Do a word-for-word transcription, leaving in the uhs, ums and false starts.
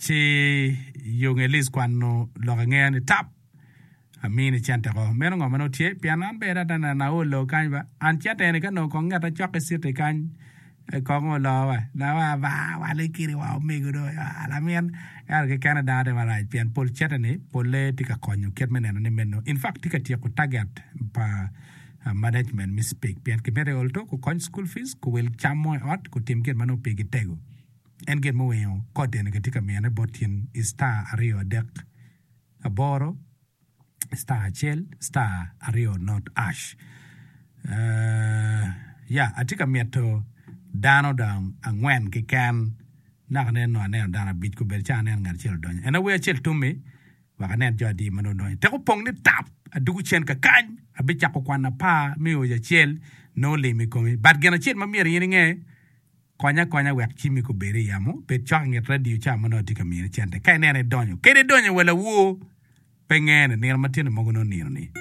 Ci yung Elis kwano lok angeya ni tap amini cente ko. Meno ngo ma nongo tye? Pien an bene ata neno aolo kany ba. An cente eni ka nongo kong ngeta cok ki citi kany kong oloo wa. Nawa ba wale kiri wa omego do lamin. Ento kekene dano tye marac pien pol cente ni polle tye ka konyo kit me neno ni meno. In fact tye ka tyeko target pa management me Speke pien kimito i ol to kukony school fees, kuwil cam mo i ot, kutim gin ma nongo pigi tego. En gin muwingo kod eni kitye ka miyone bot in i star aryo adek aboro star acel star aryo not ash. Uh, ya atye ka mito dano dong angwen keken naka nen no aneno dano abic kobedo ca aneno ngat acel odonyo. En awer acel tummi wek anen jo adi ma dong odonyo. Tek opong ni tap adugo cen kakany abicako kwano apar me oyo acel nongo limo i komi. But gin acel ma myero in inge konya akonya wek cimmi kobed i yamo, bed cok i nget radio ca ma nongo atye ka mini cente. Ka ineno idonyo, kadi idonyo wa lawor, pe ngene, nino ma tyene mogo nongo nino ni.